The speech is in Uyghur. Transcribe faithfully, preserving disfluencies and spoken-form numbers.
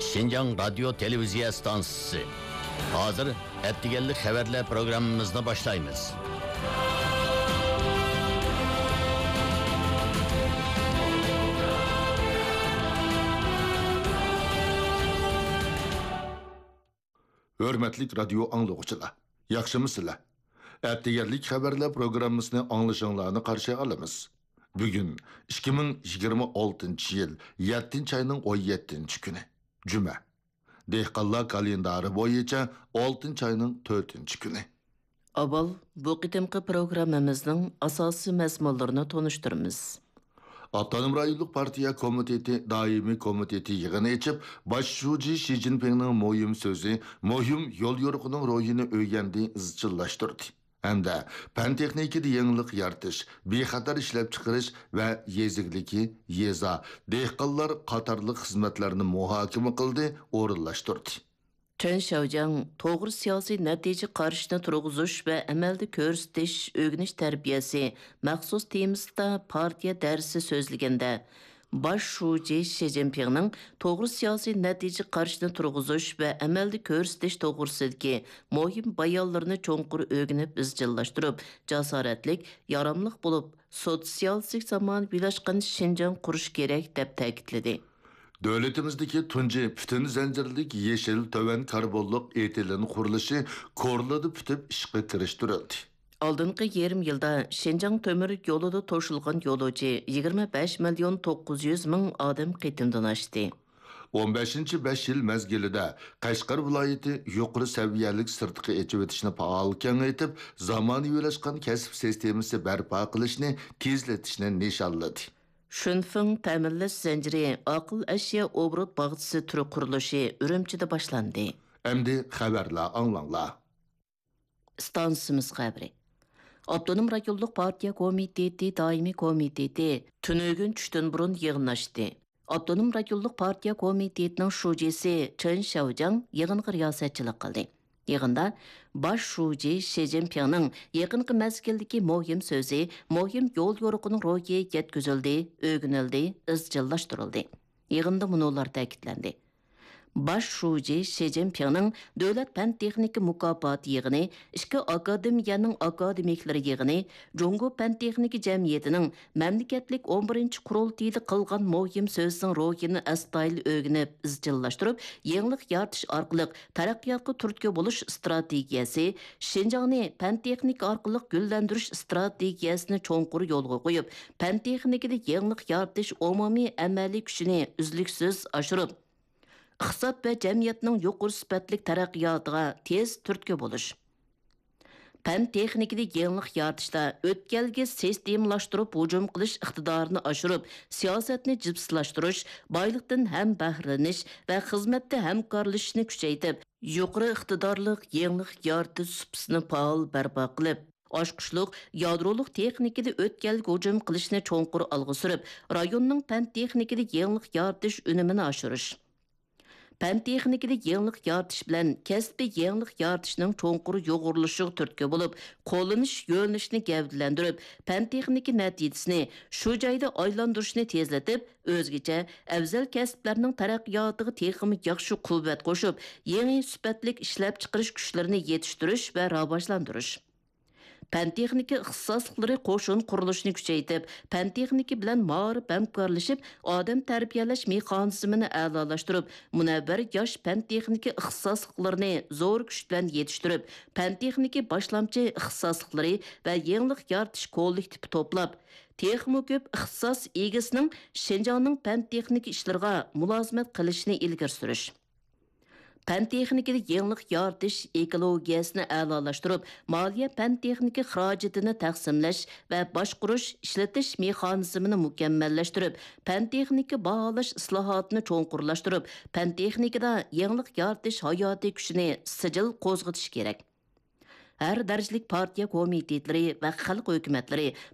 شىنجاڭ رادىيو تېلېۋىزىيە ئىستانسىسى. ھازىر ئەتىگەنلىك خەۋەرلەر پروگراممىمىزنى باشلايمىز. ھۆرمەتلىك رادىيو ئاڭلىغۇچىلار، ياخشىمۇسىلەر؟ ئەتىگەنلىك خەۋەرلەر پروگراممىسىنى ئاڭلىشىڭلارنى قارشى ئالىمىز. بۈگۈن ئىككى مىڭ يىگىرمە ئالتىنچى يىل يەتتىنچى ئاينىڭ ئون يەتتىنچى كۈنى، جۈمە. دېھقانلار كالېندارى بويىچە ئالتىنچى ئاينىڭ تۆتىنچى كۈنى. ئاۋۋال بۇ قېتىمقى پروگراممىمىزنىڭ ئاساسىي مەزمۇنلىرىنى تونۇشتۇرىمىز. ئاپتونوم رايونلۇق پارتىيە كومىتېتى دائىمىي كومىتېتى يىغىنى ئېچىپ، باش شۇجى شى جىنپىڭنىڭ مۇھىم سۆزى، مۇھىم يوليورۇقىنىڭ روھىنى ئۆگەندى ئىزچىللاشتۇردى ھەمدە پەن تېخنىكىدا يېڭىلىق يارىتىش، بىخەتەر ئىشلەپچىقىرىش ۋە يېزا ئىگىلىكى، يېزا، دېھقانلار قاتارلىق خىزمەتلەرنى مۇھاكىمە قىلدى، ئورۇنلاشتۇردى. چېن شياۋجياڭ توغرا سىياسىي نەتىجە قارىشىنى تۇرغۇزۇش ۋە ئەمەلدە كۆرسىتىش ئۆگىنىش تەربىيەسى مەخسۇس تېمىسىدا پارتىيە دەرسى سۆزلىگەندە، باش شۇجى شى جىنپىڭنىڭ توغرا سىياسىي نەتىجە قارىشىنى تۇرغۇزۇش ۋە ئەمەلدە كۆرسىتىش توغرىسىدىكى مۇھىم بايانلىرىنى چوڭقۇر ئۆگىنىپ ئىزچىللاشتۇرۇپ، جاسارەتلىك، ياراملىق بولۇپ، سوتسىيالىستىك زامانىۋىلاشقان شىنجاڭ قۇرۇش كېرەك، دەپ تەكىتلىدى. دۆلىتىمىزدىكى تۇنجى پۈتۈن زەنجىرلىك يېشىل تۆۋەن كاربونلۇق ئېتىلېن قۇرۇلۇشى كورلىدا پۈتۈپ ئىشقا كىرىشتۈرۈلدى. ئالدىنقى يېرىم يىلدا شىنجاڭ تۆمۈر يولىدا توشۇلغان يولۇچى يىگىرمە بەش مىليون توققۇز يۈز مىڭ ئادەم قېتىمدىن ئاشتى. ئون بەشىنچى بەش يىل مەزگىلىدە قەشقەر ۋىلايىتى يۇقىرى سەۋىيەلىك سىرتقا ئېچىۋېتىشنى پائال كېڭەيتىپ، زامانىۋىلاشقان كەسىپ سىستېمىسى بەرپا قىلىشنى تېزلىتىشنى نىشانلىدى. شۈنفېڭ تەمىنلەش زەنجىرى ئاقىل ئەشيا ئوبوروت باغچىسى تۈر قۇرۇلۇشى ئۈرۈمچىدە باشلاندى. ئەمدى خەۋەرلەر ئاڭلاڭلار. ئىستانسىمىز خەۋىرى. ئاپتونوم رايونلۇق پارتىيە كومىتېتى دائىمىي كومىتېتى تۈنۈگۈن چۈشتىن بۇرۇن يىغىنلاشتى. ئاپتونوم رايونلۇق پارتىيە كومىتېتىنىڭ شۇجىسى چېن شياۋجياڭ يىغىنغا رىياسەتچىلىك قىلدى. يىغىندا باش شۇجى شى جىنپىڭنىڭ يېقىنقى مەزگىلدىكى مۇھىم سۆزى، مۇھىم يول يورۇقىنىڭ روھى يەتكۈزۈلدى، ئۆگىنىلدى، ئىزچىللاشتۇرۇلدى. يىغىندا مۇنۇلار تەكىتلەندى. باش شۇجى شى جىنپىڭنىڭ دۆلەت پەن تېخنىكا مۇكاپاتى يىغىنى، ئىككى ئاكادېمىيەنىڭ ئاكادېمىكلىرى يىغىنى، جۇڭگو پەن تېخنىكا جەمئىيىتىنىڭ مەملىكەتلىك ئون بىرىنچى قۇرۇلتىيىدا قىلغان مۇھىم سۆزىنىڭ روھىنى ئەستايىدىل ئۆگىنىپ، ئىزچىللاشتۇرۇپ، يېڭىلىق يارىتىش ئارقىلىق تەرەققىياتقا تۈرتكە بولۇش ئىستراتېگىيەسى، شىنجاڭنى پەن تېخنىكا ئارقىلىق گۈللەندۈرۈش ئىستراتېگىيەسىنى چوڭقۇر يولغا قويۇپ، پەن تېخنىكىدا يېڭىلىق يارىتىش ئومۇمىي ئەمەلىي كۈچىنى ئۈزلۈكسىز ئاشۇرۇپ، ئىقتىساد ۋە جەمئىيەتنىڭ يۇقىرى سۈپەتلىك تەرەققىياتىغا تېز تۈرتكە بولۇش. پەن تېخنىكىدا يېڭىلىق يارىتىشتا ئۆتكەلگە سىستېمىلاشتۇرۇپ ھۇجۇم قىلىش ئىقتىدارىنى ئاشۇرۇپ، سىياسەتنى جىپسىلاشتۇرۇش، بايلىقتىن ھەم بەھرىلىنىش ۋە خىزمەتتە ھەمكارلىشىشنى كۈچەيتىپ، يۇقىرى ئىقتىدارلىق يېڭىلىق يارىتىش سۇپىسىنى پائال بەرپا قىلىپ، ئاچقۇچلۇق يادرولۇق تېخنىكىدا ئۆتكەلگە ھۇجۇم قىلىشنى چوڭقۇر ئالغا سۈرۈپ، رايوننىڭ پەن تېخنىكىدا يېڭىلىق يارىتىش ئۈنۈمىنى ئاشۇرۇش. پەن تېخنىكىدا يېڭىلىق يارىتىش بىلەن كەسپىي يېڭىلىق يارىتىشنىڭ چوڭقۇر يۇغۇرۇلۇشىغا تۈرتكە بولۇپ، قوللىنىش يۆنىلىشىنى گەۋدىلەندۈرۈپ، پەن تېخنىكا نەتىجىسىنى شۇ جايدا ئايلاندۇرۇشنى تېزلىتىپ، ئۆزگىچە ئەۋزەل كەسىپلەرنىڭ تەرەققىياتىغا تېخىمۇ ياخشى قۇۋۋەت قوشۇپ، يېڭى سۈپەتلىك ئىشلەپچىقىرىش كۈچلىرىنى يېتىشتۈرۈش ۋە راۋاجلاندۇرۇش. پەن تېخنىكا ئىختىساسلىقلىرى قوشۇن قۇرۇلۇشىنى كۈچەيتىپ، پەن تېخنىكا بىلەن مائارىپ ھەمكارلىشىپ، ئادەم تەربىيەلەش مېخانىزمىنى ئەلالاشتۇرۇپ، مۇنەۋۋەر ياش پەن تېخنىكا ئىختىساسلىقلىرىنى زور كۈچ بىلەن يېتىشتۈرۈپ، پەن تېخنىكا باشلامچى ئىختىساسلىقلىرى ۋە يېڭىلىق يارىتىش كوللېكتىپى توپلاپ، تېخىمۇ كۆپ ئىختىساس ئىگىسىنىڭ شىنجاڭنىڭ پەن تېخنىكا ئىشلىرىغا مۇلازىمەت قىلىشىنى ئىلگىرى سۈرۈش. پەن تېخنىكىدا يېڭىلىق يارىتىش ئېكولوگىيەسىنى ئەلالاشتۇرۇپ، مالىيە پەن تېخنىكا خىراجىتىنى تەقسىملەش ۋە باشقۇرۇش، ئىشلىتىش مېخانىزمىنى مۇكەممەللەشتۈرۈپ، پەن تېخنىكا باھالاش ئىسلاھاتىنى چوڭقۇرلاشتۇرۇپ، پەن تېخنىكىدا يېڭىلىق يارىتىش ھاياتىي كۈچىنى سىجىل قوزغىتىش كېرەك. ھەر دەرىجىلىك پارتىيە كومىتېتلىرى ۋە خەلق ھۆكۈمەتلىرى